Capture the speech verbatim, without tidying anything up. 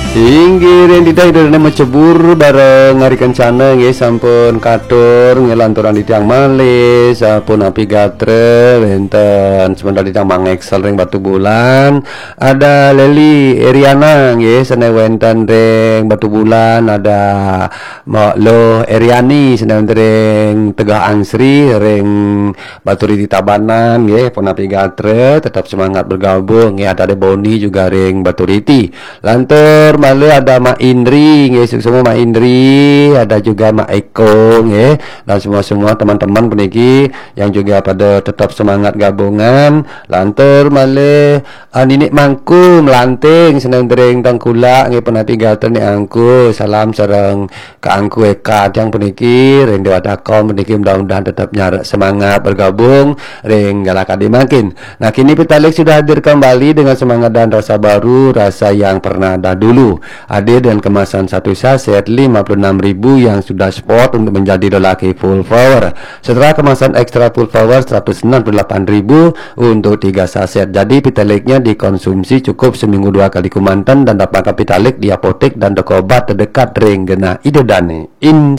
Inggih, ring titah Ida Dané macebur bareng ari kencana nggih sampun katur nggih lanturang titiang malih sapunapi gatra wénten semeton titiang Mang Excel ring Batubulan, ada Leli Eriana nggih sané wénten ring Batubulan, ada Mbok Luh Eriani sané wénten ring Tegal Angsri ring Baturiti Tabanan nggih, punapi gatra, tetap semangat bergabung nggih, ada Boni juga ring Baturiti. Lantur malih ada Mak Indri nggih, suksma Mak Indri, ada juga Mak Eko nggih, dan semua-semua teman-teman puniki yang juga pada tetap semangat gabungan. Lantur malih ah, Ninik Mangku Melanting sané wénten ring Tengkulak nggih, punapi gatra Nik Angku. Salam sareng Kak Angku Eka tiang puniki ring Dewata Kom puniki, mudah-mudahan tetap nyarek semangat bergabung ring galakadi mangkin. Nah, kini Pitalig sudah hadir kembali dengan semangat dan rasa baru, rasa yang pernah dahulu. Hadir dengan kemasan satu saset lima puluh enam ribu yang sudah spot untuk menjadi lelaki full power. Setelah kemasan extra full power seratus enam puluh delapan ribu untuk tiga saset. Jadi Pitalignya dikonsumsi cukup seminggu dua kali kemanten dan dapatkan Pitalig di apotek dan toko obat terdekat ring genah Ida Dané. In